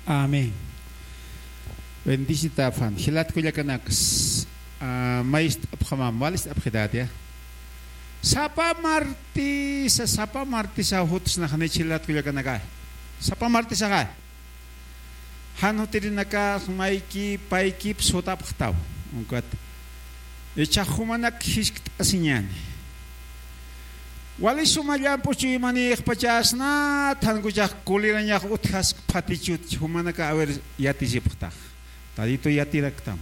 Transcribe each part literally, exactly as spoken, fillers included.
Amén. Bendicita afan. Jilat kullakanakas. Ah, maestro apxamam, walist apxidatia. Sapa martisa, sapa martisa jutsnaxni jilat kullakanaka. Sapa martisaxa. Jan jutirinaka mayki, paykip sutapxtaw. Ukat. Icha jumanak jiskt'asiñani. Wali suma llamp'u chuymanïxpachasnat, jankuchax kulirañax utjask phatichut, jumanaka a ver yatisipxtax. Tadito yatiraktam.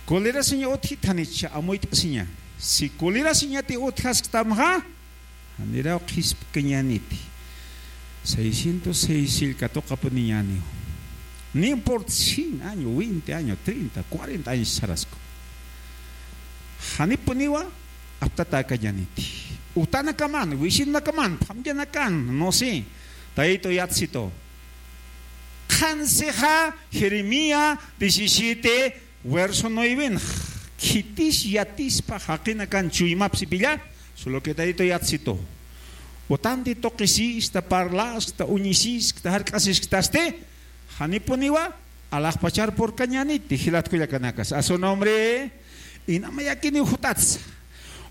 Kulirasiña utjit janicha amuyt'asiña. Si kulirasiñati utjasktamxa, janiraw qhispkañaniti. Seiscientos seis sillkatuqapuniñaniw. No importa cien año, veinte año, treinta, cuarenta años sarasku. Janipuniwa aptatakañaniti. Utanakaman, wisinakaman, phamyanakan, no sé. Tayto yatsito. Qhansixa Jeremías diecisiete, verso nueve. Khitis yatispa jaqinakan chuymapsipilla, solo que tayto yatsito. Utanti tuqisista, parlaskta, uñisiskta, jark'asisktaste, janipuniwa alaxpachar purkañaniti, jilat kullakanakas. A su nombre, inamayakiniw jutatsa.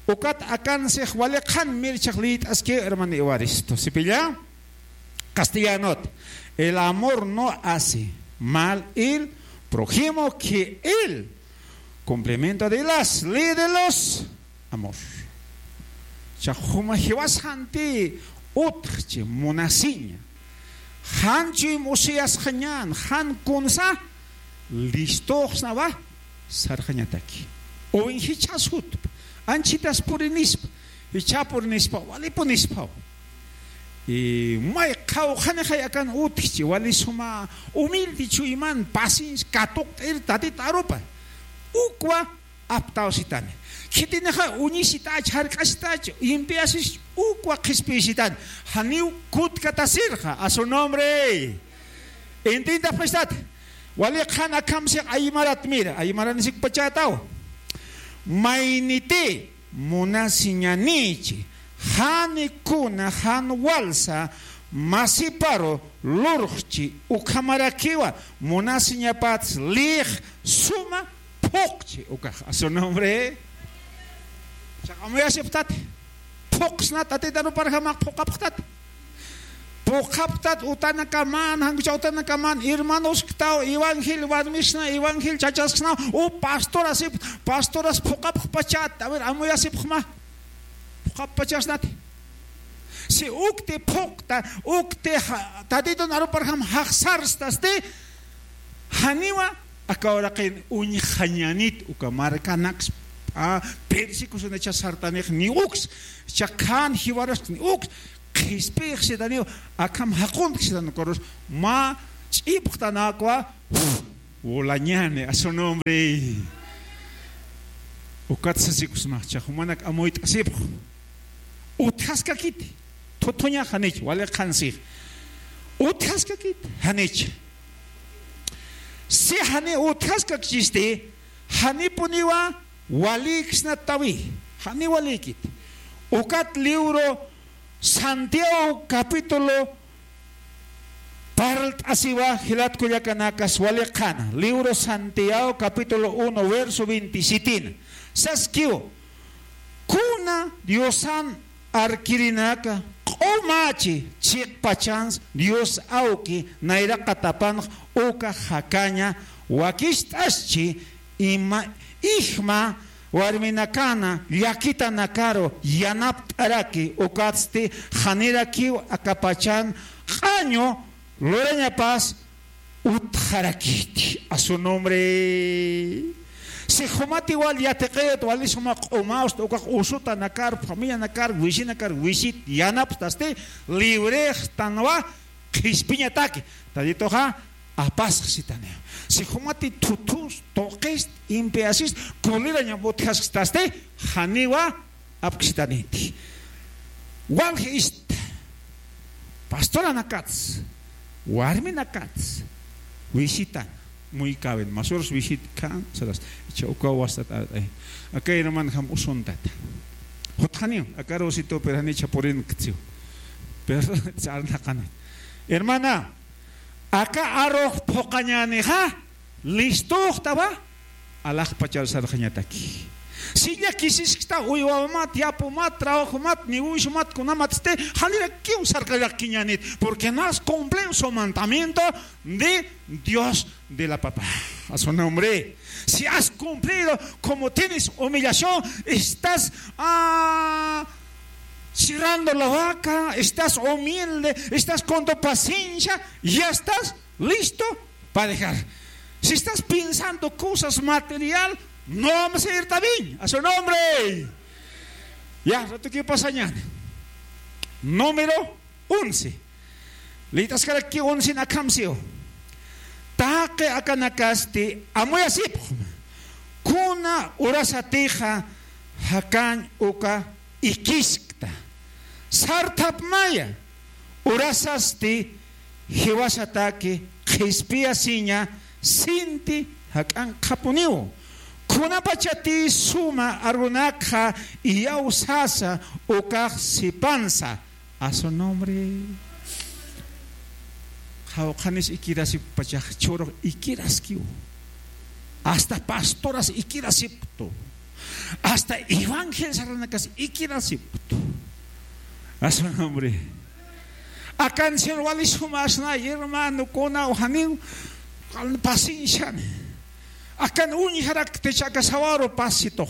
Ukat akansix wali qhan mirchax liyt'aski, hermano Evaristo. Sipilla? Castellanot. El amor no hace mal el prójimo que el cumplimiento de las leyes de los amor. Cha juma jiwas janti utjchi munasiña. Jan chuym usiyasxañan, jan kunsa listoxsnawa sarxañataki. Uwin jichhas jutpa, anchitas purinispa, jichha purinispa, wali punispaw. Y may qhawqhanixay akan utjchi, wali suma humilde chuyman, paciencia, katuqt'ir Tatit arupa. Ukwa aptawsitani. Khitinixa uñisitach, jark'asitach, impiasis, ukwa qhispiyisitani. Janiw kutkatasirxa, a su nombre. Intintapxistat. Wali qhan akhamsix aymarat, mira, aymaran sikpachataw. Mayniti munasiñanichi, jan kuna, jan walsa masiparu lurxchi, ukhamarakiwa munasiñapats lix suma phuqchi ukax. A su nombre. Chaqamuyasipxtat. Phuqsnat, Tatit aruparjamax phuqapxtat. Phuqapxtat utanakaman, jankucha utanakaman, hermanosktaw, evangel warmisna, evangel chachasksna, u pastor asip, pastoras phuqapxpachat, a ver, amuyasipxma. Phuqapxpachasnat. Si ukti phuqta, ukti ja-, Tatitun aruparjam jaqsarstasti, janiwa aka uraqin uñjañanit uka markanaks, a, persecucionacha sartanix ni uks, chakhan jiwaras ni uks, qhispixsitaniw, akham jaquntksitan ukarus, mä ch'ipxtanakwa, volañani, a su nombre. Ukat sasikusma, cha jumanak amuyt'asipx. Utjaskakiti, thuthuña janich, wali qhansix. Utjaskakit, janich. Si jani utjaskakchisti, janipuniwa waliksnatawi, jani walikit. Ukat libro Santiago capítulo parlt'asiwa jilat kullakanakas wali qhana. Libro Santiago capítulo uno, verso veintisiete. Saskiw, kuna Diosan arkirinaka q'umachi chiqpachans Dios awki nayraqatapanx uka jakaña wakist'aschi ima ijma warminakana llakitanakaru yanapt'araki ukatsti janirakiw akapachan q'añu lurañapas utjarakiti a su nombre. Si jumati wal yatiqit wali suma q'umawst ukax usutanakar familianakar wisinakar wisit yanapstasti librextanwa qhispiñataki. Taditoxa apasxsitani. Si jumati thuthus tuqist impiasis kulirañam utjaskstasti janiwa apksitaniti. Walji ist pastoranakats warminakats wisitan muykawen masurus wisit kan saras icha ukaw wastat. Aka herman jam usuntata jutxaniw akaru situ perjani icha purin ktsiw. Pero sarnaqana hermana. Aka arux phuqañänixa, listuxtawa, alaxpachar sarxañataki. Si llakisiskta uywawamat, yapumat, trabajomat, negociomat, kunamatsti, janirakiw sarkallakiñänit, porque no has cumplido su mandamiento de Dios de la papá. A su nombre. Si has cumplido, como tienes humillación, estás, ah, cerrando la boca, estás humilde, estás con tu paciencia, ya estás listo para dejar. Si estás pensando cosas material, no vamos a ir también. A su nombre. Ya, rato que pasa ñan. Número once. Lït'askaraki once akham siw. Taqi akanakasti amuyasipxma. Kuna urasatixa jakañ uka ikiskta. Sarthapmaya. Urasasti jiwasataki qhispiyasiña sinti jak'ankxapuniw. Kunapachati suma arunakxa iyawsasa ukax sipansa. A su nombre. Qhawqhanis ikirasipkpachax churux ikiraskiw. Hasta pastoras ikirasipktu. Hasta evangelizarnakas ikirasipktu. A su nombre. Akan Señor wali sumasna, hermano, kuna janiw, pacienciani. Akan uñjarakti chaka sawaru pasitux.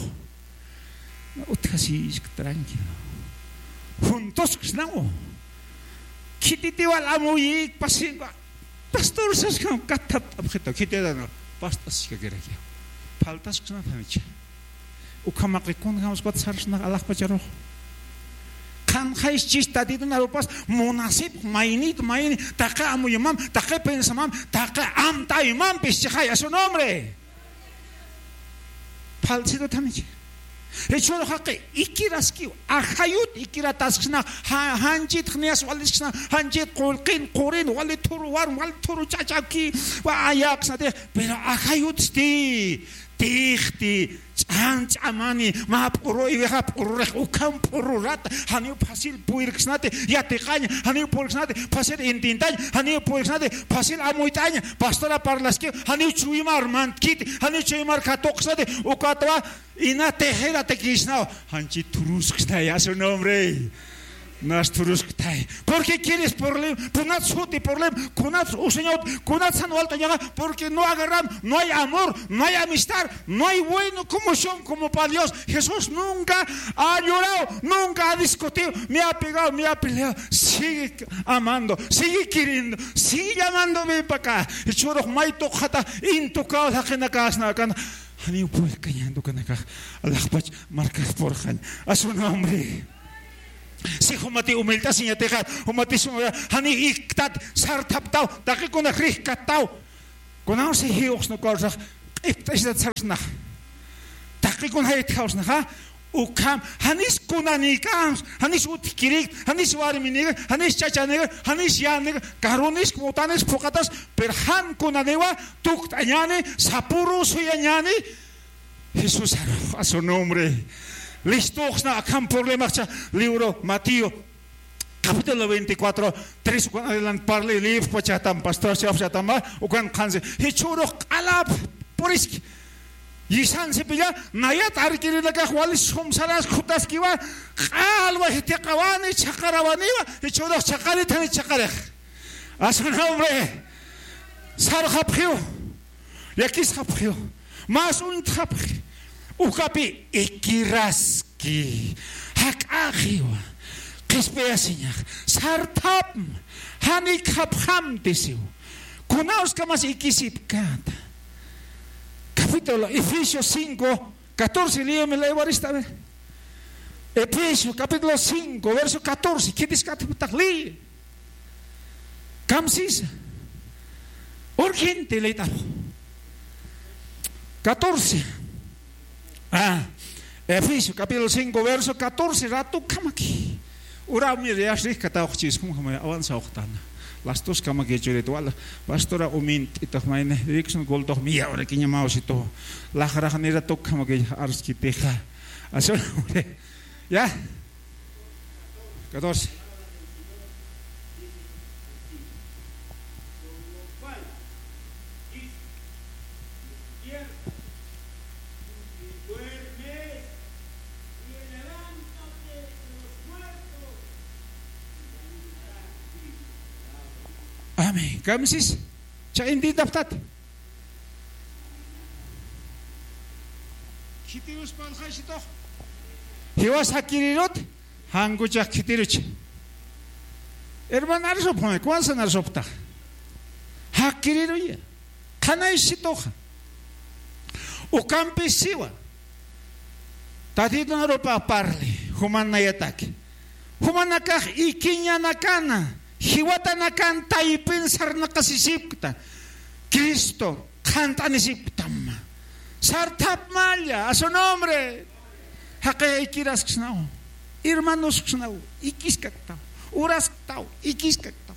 Utjasisk tranquilo. Juntos, ¿no? Khititiw amuyik, pasinwa. Pastor, saskan, kathap, abjeta, khititana. Pastas, kakiraki. Faltas, ¿no? Tanicha. Ukhamaqi, kun, jams, pat, sarsna, alaxpacharux. Qhanxayschis Tatitun arupas, munasip, maynit, mayni, taqi amuyumam, taqi pensamam, taqi amtaymampis, chixay, a su nombre. Falsito tanichi. Jichhüru jaqi ikiraskiw, ajayut ikiratasksna, ja-, janchit jniyas walisksna, janchit qullqin, qurin, wali thuru warm, wali thuru ch'achaki, wa ayäksnati, pero ajayutsti, tixti, ch'an ch'amani, mä p'uruywixa p'ururix, ukham p'ururat, janiw fácil puyirksnati, yatiqañ, janiw puyirksnati, fácil intintañ, janiw puyirksnati, fácil amuyt'añ, pastora parlaskiw, janiw chuymar mantkiti, janiw chuymar katuqsnati, ukatwa, ina tejeratakisnaw, janchi thurusksnaya su nombre. Nas thurusktay. ¿Por qué quieres problema? Kunat suti problema, kunat usañawt, kunat san walt'añaxa, porque no agarram, no hay amor, no hay amistad, no hay bueno como son, como para Dios. Jesús nunca ha llorado, nunca ha discutido, me ha pegado, me ha peleado. Sigue amando, sigue queriendo, sigue llamando, ven para acá. Y churux maytuqxata, intukaw jaqinakasna, kan, janiw puykañantu kanakax, alaxpach markax purxañ. A su nombre. Si jumati humilt'asiñatixa, jumati suma, jani iktat, sarthaptaw, taqikuna jrixkattaw. Kunawsi jiwxsna kawsax, q'ipt'asitat sarsnax. Taqikuna jaytjawsnaxa, ukham, janis kunanikäms, janis utjkirïkt, janis warminikäm, janis chachanïkäm, janis yänïkäm, karunis, mutanis, phuqhatas, pero jan kunaniwa, tukt'añäni, sapüru suyañäni, Jesús, a su nombre. Listuxsna akham problemaxcha libro Mateo, capítulo veinticuatro, tres, ukan adelant parli, lïpxpachatam, pastor, chawpxatam, ukan qhansi. Jichhürux q'alap puriski. Yisansipilla, nayat arkirinakax wali sumsaras khutaskiwa, q'alwa jithiqawani, chhaqarawaniwa, jichhürux chhaqarithani chhaqarix. A su nombre. Sarxapxiw. Llakisxapxiw, mas uñtxapxi, ukapi ikiraski, jak'axiwa, qhispiyasiñax, sarthapma, janikxapxamtisiw, kunawskamas ikisipkäta. Capítulo Efesios cinco, catorce, léeme la Evarista, a ver. Efesios capítulo cinco, verso catorce, ¿qué dice? Kataptaq, lee. Kamsisa. Urgente, leet'aru. Catorce. Ah, Efesios capítulo cinco, verso catorce, rato kamaki. Ura, mira, ya rikatawxchis, como que me avanza oxtana. Las dos kamaki churit, wala, pastora umin, tito, maine, Dixon, culto, mía, ahora que ñamao si to. La jara, ni rato kamaki, arski, teja. Así, hombre. Ya. Catorce. Amén. Kamsis. Cha intintapxtat. Khitirus parlxaysitux. Jiwas jakirirut, jankuchax khitiruch. Hermano, arsupxmi, kuwansa arsupxtax. Jakiriruya. Qhanaysituxa. Ukampis siwa. Tatitun arupa parli, juman nayataki. Jumanakax ikiñanakana, jiwatanakan taypin sarnaqasisipkta. Cristo qhant'anisipktam. Sarthapmalla, a su nombre. Jaqi ikirasksnaw. Hermanosksnaw. Ikiskaktaw. Urasktaw. Ikiskaktaw.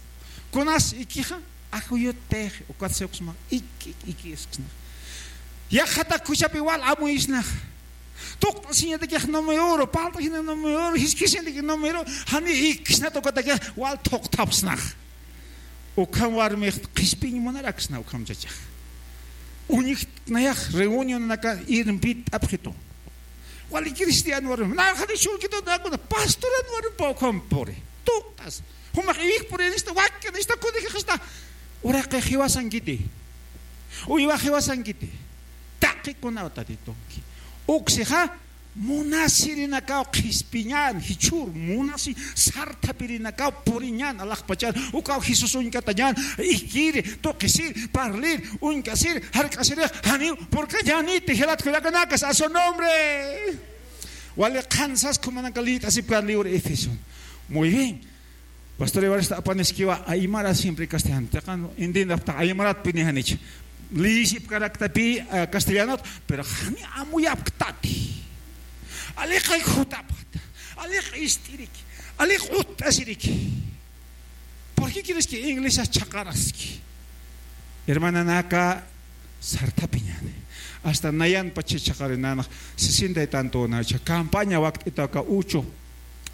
Kunas ikixa, ajuyut tix, ukat siwksma. Iki, ikisknax. Yaqhatak kuchapi wal amuysnax. Tuqt'asiñatakix numero, palt'asiñatakix numero, jiskisiñatakix numero, jani iksnat ukatakix wal thuqthapsnax. Ukham warmix qhispiñ munaraksna ukham chachax. Uñjt'nayax reunionanaka irmpit'apxitu. Wali cristiano warmi, narxani churkitu nakuna, pastoran warmi pawkham puri. Tuqt'as. Jumax iwik purinista, wakkanista, kunijixista. Uraqi jiwasankiti. Uywa jiwasankiti. Taqikunaw tatitunki. Uksixa, munasirinakaw qhispiñan, jichhür munasi sarthapirinakaw puriñan, alaxpachan, ukaw Jesús uñkatañan, ikiri, tuqisir, parlir, uñkasir, jark'asirix, janiw purkañaniti, jilat kullakanakas, a su nombre. Wali qhansas kumanaka liyt'asipkan libro Efeso. Muy bien. Pastor Evaristo apaniskiwa aymara siempre castellano. Taqan indinapta aymarat pini janich. Liyisipkarakta pi, ah, castellanot, pero jani amuyapktati. Aliqay jutapxta. Aliq ist'iriki. Aliq utt'asiriki. ¿Por qué quieres que inglesas chaqaraski? Hermananaka sarthapiñani. Hasta nayan pacha chaqarinanax sesenta y tanto nacha campaña wakt'itaka uchu.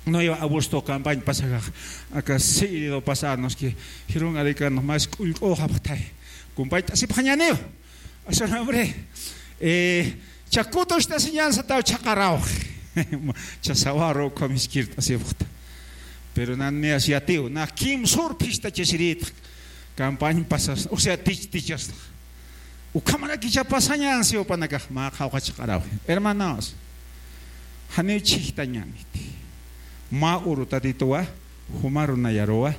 No iba a gusto campaña pasakax. Aka seguido pasarnos que jirun arikan más k'ullk'uxapxtay. Compañt'asipxañaniw. A su nombre. Eh, Chakutusta enseñanza taw chaqaraw. Chasawaru ukham iskirt'asipxta. Pero nan niyas yatiw, na kimsur phistachasirit. Campaña pasas, o sea, tich, tichas. Ukhamarakicha pasañan si upanakax, ma qhawqa chaqaraw. Hermanos, janiw chhijtañaniti. Mä uru Tatituwa, jumaru nayaruwa,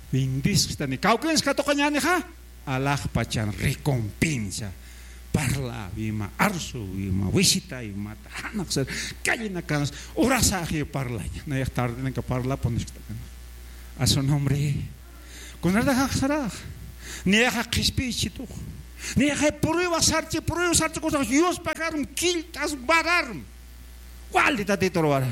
bendisxtani. Kawkins katuqañanixa, alaxpachan recompensa. Parlawima, arsuwima, visitaymata, janaqsar, callenakanas, urasaxi parlaña. Nayax tardenaka parlapunisktakana. A su nombre. Kunarda jaqsarax. Niyaxa qhispichitux. Niyaxa prueba sarchi, prueba sarchi, kusax yuspakarm, killt'as, bararm. Wali Tatitur warar.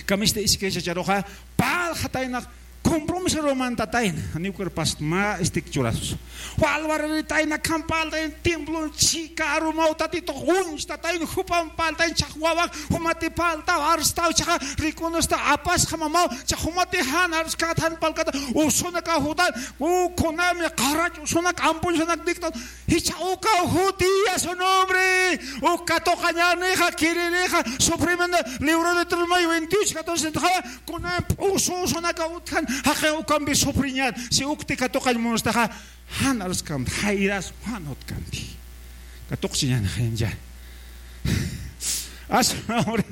Kamista iskay chacharuxa, parlxatayna, compromiso romantatayna, janiw kirpast mä istik churasus. Wal wararitayna, khampaltayna, templon chhika arumaw Tatitux uñstatayna, jupan paltayna, chax wawax, jumati paltaw, arstaw, chaxa rikunasta, apasxa mamaw, chax jumati jan arskata, jan palkata, usunaka jutan, u kunami qarach usunak, ampuñsunak diktan, Jichha ukaw jutiya su nombre. Uk katuqañanixa, kiririxa, sufrimiento, libro de Deuteronomio veintiocho, catorce, tuxa, kunan p'ususunaka utjan, jaqi ukampi sufriñan, si ukti katuqañ munustaxa, jan arskamti, jayras, jan utkanti. Katuqchiñanixa ya. A su nombre.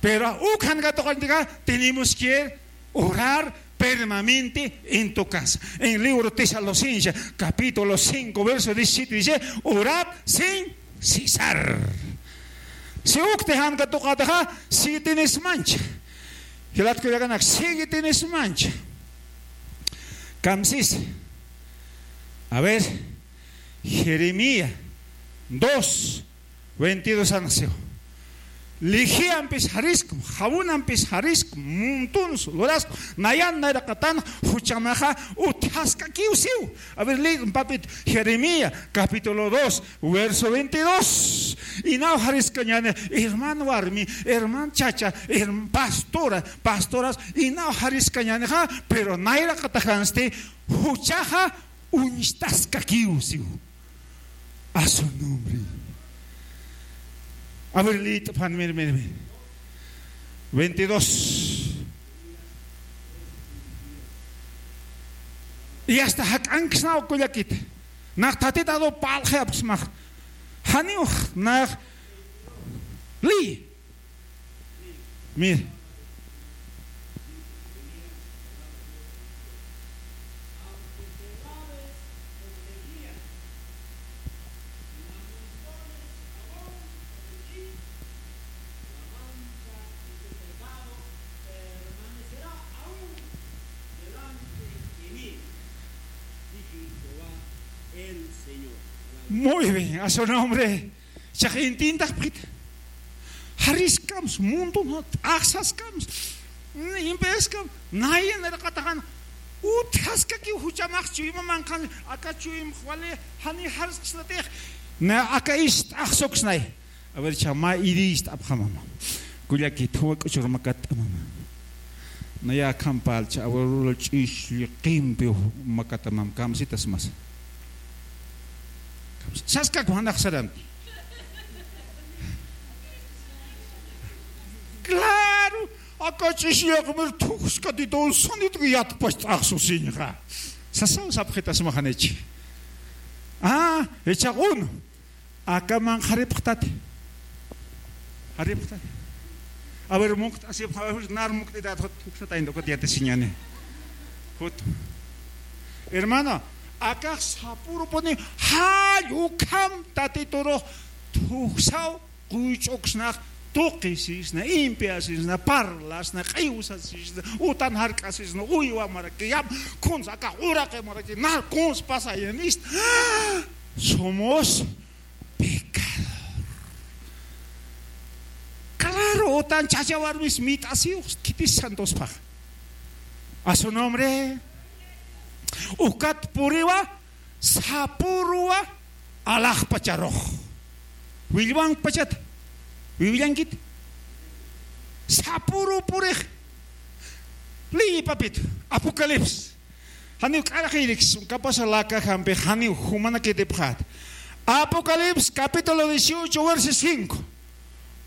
Pero ukhan katuqañtika, tenemos que orar permanente en tu casa. En libro Tesalonicenses, capítulo cinco, verso diecisiete dice, "Orad sin cesar." Si ukti jan katuqataxa, sigue tienes mancha. Jilat kullakanak, sigue tienes mancha. Kamsis. A ver, Jeremías dos, veintidós anxiw. Lijiampis jariskm, jawunampis jariskm, muntuns luraskm, nayan nayraqatan juchamaxa utjaskakiw siw. A ver, lee un papito. Jeremías, capítulo dos, verso veintidós. Inaw jariskañani, hermano warmi, hermano chacha, herm-, pastora, pastoras, inaw jariskañanixa, pero nayraqatajansti juchaxa uñstaskakiw siw. A su nombre. A ver, liyt'pan, mir, mir, mir. Veintidós. Y hasta jak'anksnaw kullakit. Nax Tatitadu parlxi apksmax. Janiw nax liy. Mir. Muy bien, a su nombre. Chax intintaxpxit. Jariskams, muntun t'axsaskams, impiskam, nayan irqataxan, utjaskakiw juchamax chuyma manqhan, aka chuymx wali, jani jarisksnatix, na aka ist'axsuksnay. A ver, chama irist'apxamama. Kullakit, juwa k'uchur makatt'amama. Naya akham parlcha, abuelo ch'uxlli qimpi makatamam, kamsitasmas. Saskak junax saran. Claro, aka ch'uxlli qimir thukskatitun sanitki yatpach t'axsusiñxa. Sasaw sapxitasmaxanich. Ah, echa uno. Aka manqharipxtati. Jaripxtati. A ver, mukt'asipxa, a ver, nar mukt'itat, jut, juksataynta, ukat yatisiñani. Jut. Hermano, akax sapürupuni jall ukham Tatiturux thuksaw, quych'uksnax, tuqisisna, impiasisna, parlasna, q'iwsasisna, utan jark'asisna, uywa maraki, yam, kuns akax uraqi maraki, nar kuns pasayan ist. Somos pecador. Claro, utan chacha warmis mit'asiw khitis santosphax. A su nombre. Ukat puriwa, sapürwa, alaxpacharux. Willwankpachat. Wiwillankit. Sapüru purix. Liy, papito. Apocalipsis. Janiw k'arxirikis, capaz laka jampi, janiw jumanakitipxat. Apocalipsis capítulo dieciocho, verso cinco.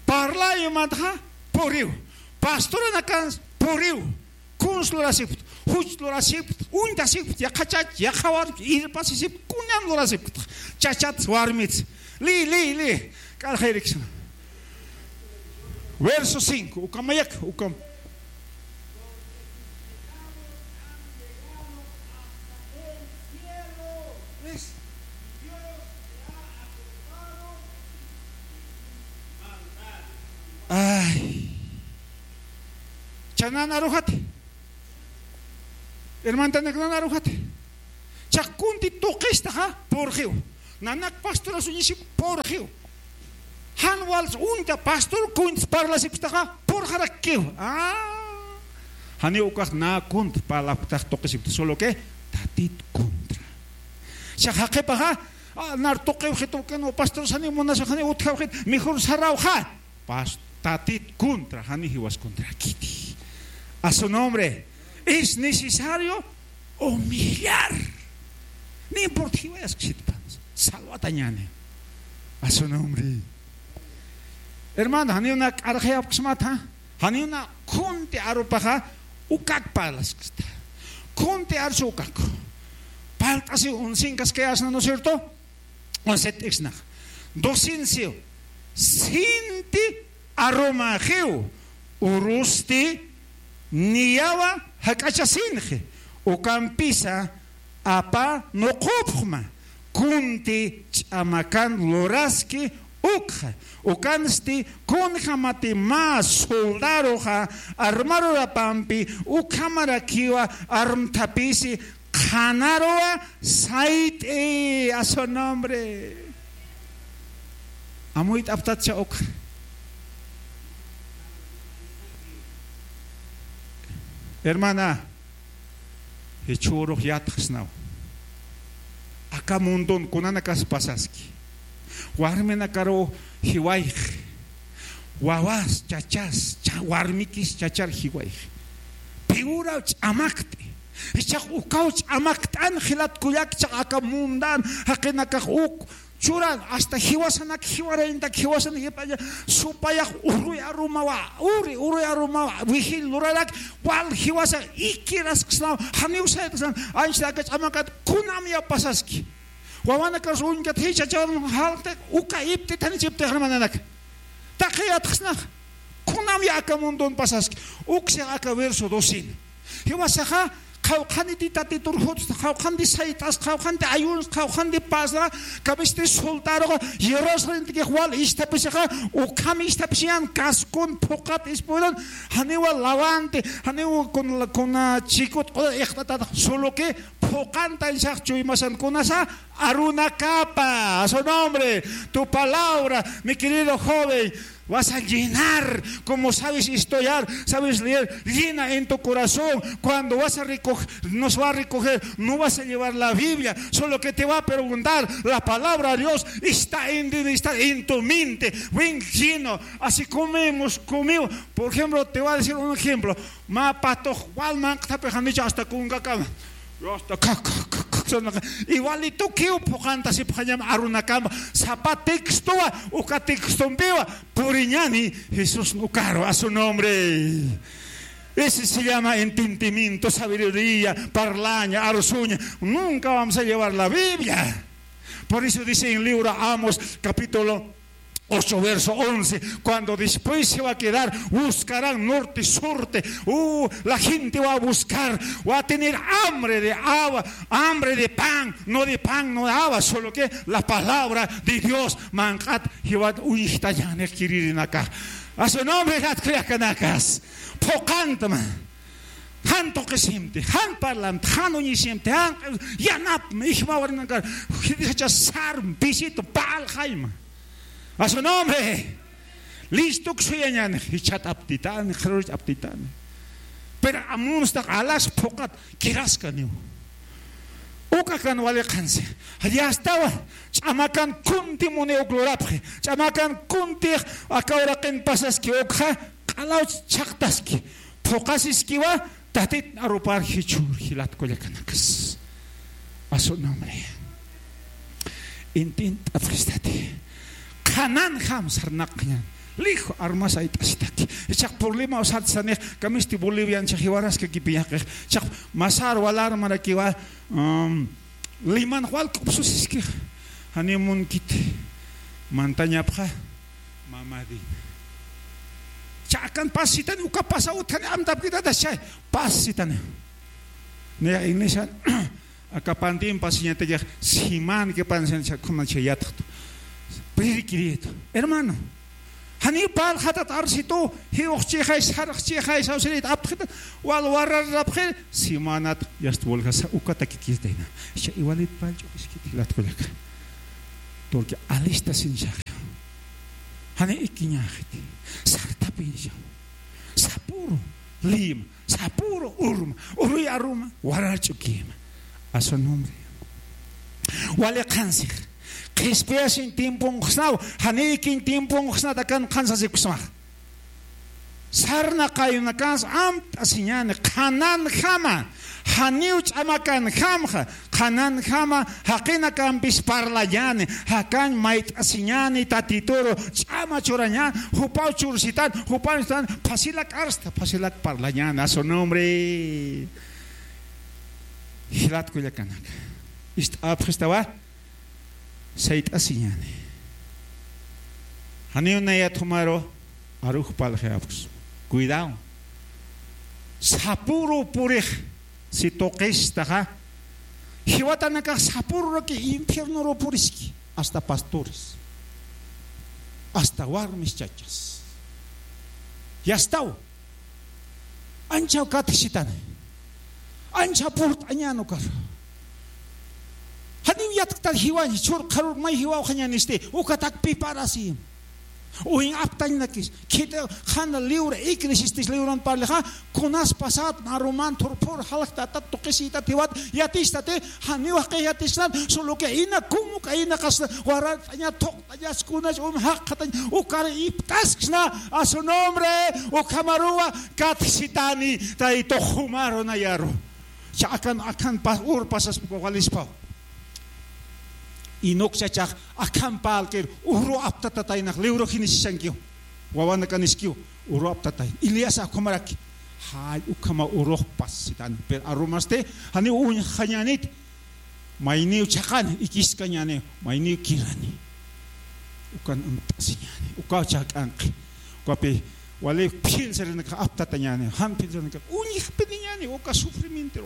Parlay umatxa puriw. Pastoranakan puriw. Kuns lurasipkt, juch lurasipkt, uñtasipkt, yaqha chach, yaqha warmk, irpasisipkt, kunan lurasipkt. Chachat, warmit. Liy, liy, liy. K'arxirikis. Verso cinco, ukamayak, ukam. Ay. Chanan arujati. Hermantanak, nan arujati. Chax kunti tuqistaxa, purxiw. Nanak pastoras uñisip, purxiw. Jan wals uñta pastor kuntis parlasipktaxa, purxarakkiw. Ah. Janiw ukax na kunti parlapktax tuqisipkta, solo que Tatit contra. Chax jaqipaxa, ah, nar tuqiwxitu, que no, pastor, janiw munasxit, janiw utjawxit, mejor sarawxa. Pas-, Tatit contra, jani jiwas contrakiti. A su nombre. Es necesario humillar. No importa, jiwayasksitpan. Salwatañäni. A su nombre. Hermano, janiw na k'arxayapksmata, janiw na kunti arupaxa, ukak parlasksta. Kunti arsu ukak. Parlt'asiw unsinkaskayasna, ¿no es cierto? Unsit'isnax. Docencia. Sinti arumaxiw, urusti niyawa jak'achasinxi, ukampisa apa nuqupxma, kunti ch'amakan luraski ukxa, ukansti kunjamati mä soldadoxa armarurapampi ukhamarakiwa armthapisi qhanaruwa sayt'i, a su nombre. Amuyt'apxtatcha ukxa. Hermana, jichhürux yatxsnaw. Aka mundon kunanakas pasaski. Warminakaruw jiwayxi. Wawas, chachas, cha-, warmikis chachar jiwayxi. Piwuraw ch'amakt'i. Jichhax ukaw ch'amakt'an jilat kullak, jichhax aka mundan jaqinakax uk churan, hasta jiwasanak, jiwarayntak, jiwasanak, jipaña, supayax, uruy arumawa, uri, uruy arumawa, wijil lurarak, wal jiwasa, ikirasksnaw, janiw sayt'asnan, anchita aka ch'amakat, kunamya pasaski. Wawanakas uñkat, jichhachawan, jalti, uka iptitanichipti, hermananak. Taqi yatxsnax, kunamya aka mundon pasaski, uksix aka verso doce. Jiwasaxa, qhawqhaniti Tatitur jutsta, qhawqhanti sayt'as, qhawqhanti ayuns, qhawqhanti pasra, kamisti soltaruxa, Jerusalentikix wal isthapisixa, ukham isthapisiñan, kaskun, phuqat, ispuyun, janiwa lawanti, janiwa kun, kuna chikut, q'uda iqt'atata, solo que phuqantan sax chuymasan kunasa, arunakapa, a su nombre, tu palabra, mi querido joven, vas a llenar, como sabes estudiar, sabes leer, llena en tu corazón. Cuando vas a recoger, nos va a recoger, no vas a llevar la Biblia, solo que te va a preguntar, la palabra de Dios está en, está en tu mente. Ven lleno, así comemos, comemos. Por ejemplo, te voy a decir un ejemplo. Mä patox wal manq'thapi janicha hasta kunkakama. Hasta kak, kak, kak, kak, sonaka. Igualitukiw phuqantasipxañam arunakama. Sapa textowa, uka textompiwa puriñani Jesús ukaru, a su nombre. Ese se llama entendimiento, sabiduría, parlaña, arsuña. Nunca vamos a llevar la Biblia. Por eso dice en libro Amos, capítulo ocho, verso once, cuando después se va a quedar, buscarán norte, surte, uh, la gente va a buscar, va a tener hambre de agua, hambre de pan, no de pan, no de agua, solo que la palabra de Dios, manq'at, jiwat, uñjtañani kiririnaka. A su nombre, jat khriakanakas, phuqantma. Jan tuqisimti, jan parlamti, jan uñisimti, jan yanapmi, ijmawarinankar, jichha sar, visito, pal, jayma. A su nombre. Listuk suyañan, jichat aptitani, qhirurich aptitani. Pero amunstaq alas phuqat, kiraskaniw. Ukakan wali qhansi. Yastawa, ch'amakan kunti muni uk lurapxi. Ch'amakan kunti aka uraqin pasaski ukxa, q'alaw chhaqtaski. Phuqasiskiwa, Tatit arupar jichhür jilat kullakanakas. A su nombre. Intint'apxistati. Qhananjam sarnaqñan. Lijo armas ayt'asitaki. Ichaq problema usat sanix, kamisti Bolivian chaq jiwaraskakipï yaqix. Chaq masar walar marakiwa, um, Liman wal k'upsusiskix. Janiw munkiti. Mantañapxa. Mamadin. Ch'akan pasitani, uka pasa utjani amtapkitata chay. Pasitani. Niya iglesia, aka pantin pasiñatakix, siman que pansin chakuna chay yatxtu. Prediquiritu. Hermano. Janiw parlxatat arsitu, jiwxchixay, sarxchixay, sawsirït aptxitat, wal wararapxir, simanat, yast walja sa, ukatakikistayna. Cha igualit pallch'ukiskit jilat kullaka. Porque alistasinchaxa. Jani ikiñaxiti. Sartapincha. Sapuru. Lima. Sapuru urma. Uruy aruma. Warach'ukima. A su nombre. Wali qhansix. Qhispiyasin tiemponxsnaw. Jani ikiñ tiemponxsnat akan qhansasikusmax. Sarnaqayunakansa amt'asiñani, qhananjama, janiw ch'amakanjamxa, qhananjama, jaqinakampis parlañani, jakañ mayt'asiñani, Tatituru ch'ama churañani, jupaw chursitan, jupaw chursitan, phasilak arsta, phasilak parlañani, a su nombre. Jilat kullakanaka. Ist'apxistawa. Sayt'asiñani. Janiw nayat jumaru arux parlxi apksma. Cuidado. Sapuru purix si tuqistaxa. Jiwatanakax sapururaki infiernoru puriski. Hasta pastores. Hasta warmis chachas. Yastaw. Ancha katjisitani. Ancha purt'añan ukar. Janiw yatktan jiwañ, jichhür qharür may jiwawxañanisti, ukatak piparasi. Uwin aptañnakis, khit'i qhana liwra, iknisistis liwran parlixa, kunas pasat, aruman, thurphur, jalktatat, tuqisitat, jiwat, yatistati, janiw jaqix yatisnat, solo que ina, como que ina qasna, warart'aña, thuq, Ayaskunas um jaqatañ ukar ipt'asksna a su nombre, ukhamaruwa katjisitani Taytux jumaru nayaru. Cha akan, akan pas, ur pasas walispaw. Enoc chachax akham parlkir uru aptatataynax libro jinisishankiw. Wawanakaniskiw uru aptatay. Elías ukhamaraki. Jall ukhama urujpas sitani. Pero arumasti janiw uñjañäniti. Mayniw chhaqani, ikiskañäni, mayniw kirani. Ukan amtasiñäni. Ukaw chhaqanqi. Ukapi wali philsirinakas aptatañäni, jan philsirinakas uñjpiniñäni, uka sufrimiento.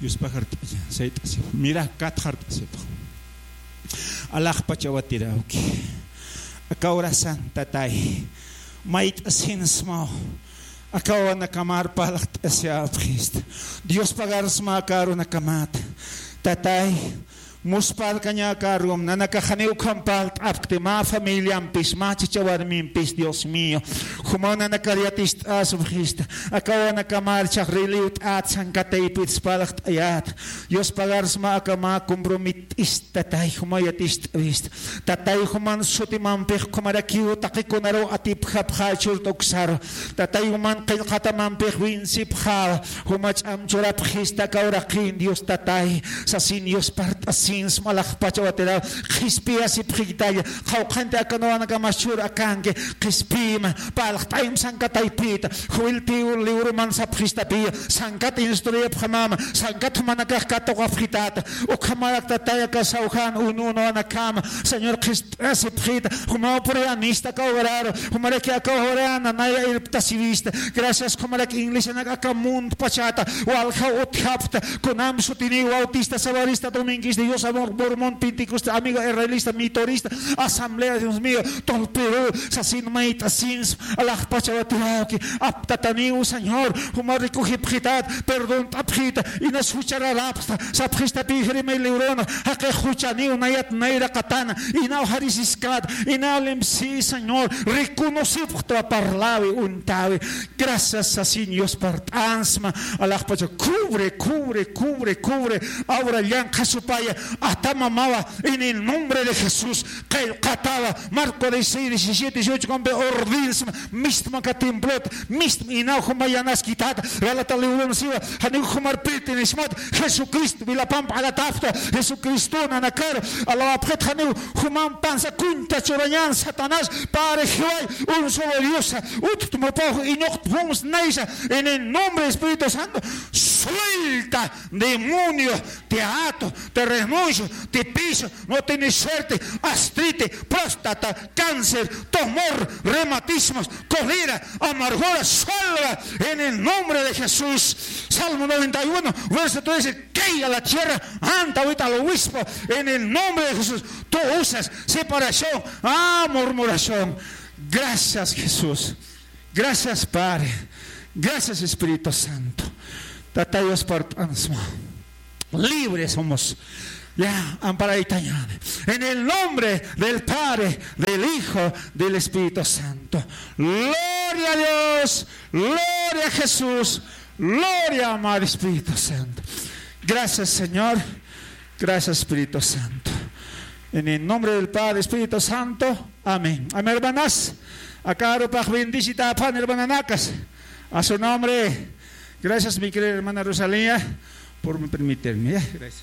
Yuspagart'añäni, sayt'asipxi, mira, katxart'asipxi. Alaxpachawatirawki. Aka urasan, Tatay, mayt'asinsmaw. Aka wawanakamar parlt'asipxista. Dios pagarsma aka arunakamat. Tatay, muspharkaña aka arum, nanakax janiw ukham parlt'apkti, mä familiampis, mä chicha warmimpis, Dios mío. Jumaw nanakar yatist'asipxista. Aka wawanakamar chhaxriliwt'at, sankataypit parlt'ayät. Dios pagarsma aka mä comprometista, Tatay, jumaw yatist'awista. Tatay, juman sutimampix ukhamarakiw taqikunaruw atipjapxä churt'uksaru. Tatay, juman qillqatamampix winsipxäwa. Juma ch'am churapxista aka uraqin, Dios Tatay, sasin Dios parlt'asinsma, alaxpachawatiraw, qhispiyasipxitalla, qhawqhanti aka wawanakamas churakanki, qhispiyma, parlt'ayma sankataypita, Joel tiw libroman sapxistapiya, sankat instruyapxamama, sankat jumanakax katuqapxitäta, ukhamarak Tatay aka sawjan uñunawanakama, Señor, qhispiyasipxita, jumaw puriyanista aka uraru, jumaraki aka ura nanaya irptasiwista. Gracias, jumaraki iglesianak aka mundo pachata, waljaw utjapxta, kunam sutiniw bautista, sabarista, dominguista, Dios amor, mormón, pentecostal, amigo israelista, mitorista, asamblea, Dios mío, todo Perú, sasin mayt'asins, alaxpachawatirawki, aptataniw, Señor, juma rikujipxitat, perdont'apxita, inas juchararapxta, sapxistapi Jeremías librona, jaqix juchaniw, nayat nayraqatana, inaw jarisiskat, inaw limsi, Señor, reconocipxtwa, parlawi, uñtawi. Gracias, sasin Dios parlt'ansma, alaxpacha, cubre, cubre, cubre, cubre, awra llanqha supaya, atamamawa, en el nombre de Jesús, qillqatawa, Marco dieciséis, diecisiete, dieciocho, compe ordinsma, mistma aka templot, mistma inaw juma yanaskitata, Galata libron siwa, janiw jumar pertenesmat, Jesucristo, wilapamp alatapta, Jesucristo nanakar, alawapxit janiw jumampansa kunta churañan Satanás, pare jiway, un solo Diosa, utjtmupaw, iñuqtpums naysa, en el nombre de Espíritu Santo, suelta, demonio, te ato, te renuncio, te piso, no tienes suerte, gastrite, próstata, cáncer, tumor, reumatismos, cólera, amargura, salga en el nombre de Jesús. Salmo noventa y uno, verso trece, caiga la tierra, anta ahorita al obispo, en el nombre de Jesús. Tú usas separación, ah, murmuración. Gracias, Jesús. Gracias, Padre. Gracias, Espíritu Santo. Tatay Dios parlt'ansma. Libres somos. Ya, amparaytañäni. En el nombre del Padre, del Hijo, del Espíritu Santo. Gloria a Dios, gloria a Jesús, gloria al Espíritu Santo. Gracias, Señor. Gracias, Espíritu Santo. En el nombre del Padre, Espíritu Santo. Amén. Amén, hermanas. Aka arupax bendicitäpan, hermananakas. A su nombre. Gracias, mi querida hermana Rosalía, por me permitirme. Ya, gracias.